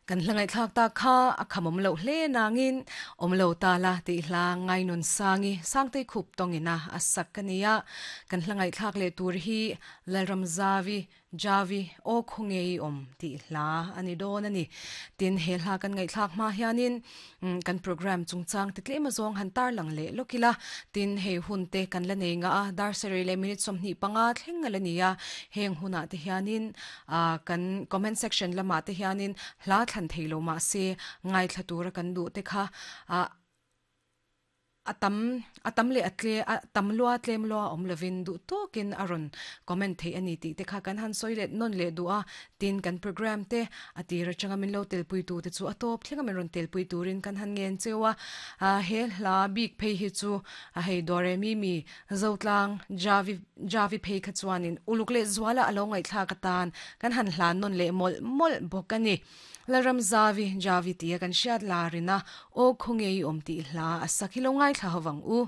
Kan hla ngaihthlak tak kha a khamawm loh hle nangin awm lo ta la tih hla Ngainun Sangi Sangtei Khup tawngin a a sak a ni a. Kan hla ngaihthlak leh tur hi Lalram Zavi Javi Aw Khaw Ngei Awm tih hla a ni dawn a ni. Tin, he hla kan ngaihthlak hma hianin kan programme chungchang ti tlem azawng han tarlang leh lawk ila. Tin, hei hun te kan la nei ngah a, dar sarih leh minute 25 thleng a la ni a. Heng hunah te hianin Ah kan comment section lamah te hianin hla thlan thei lo mah se ngaithla tura kan duh te kha ah a tam a tam leh a tle a tam lua tlem lua awm lovin duh tawkin a rawn comment theih a ni tih te kha kan han sawi let nawn leh duh a. Tin kan programme te a tir atanga min lo telpui tu te chu a tawp thleng a min rawn telpui turin kan han ngen cheu a. Ah he hla bik phei hi chu a hei Doremi mi Zotlang Javi Javi phei kha chuanin uluk leh zuala a lo ngaihthlak atan kan han hlan nawn leh mawlh mawlh bawk a ni. Lalram Zavi Javi tia kan hriat larina aw khaw ngei awm tih hla a sak hi lo ngaithla ho vang u.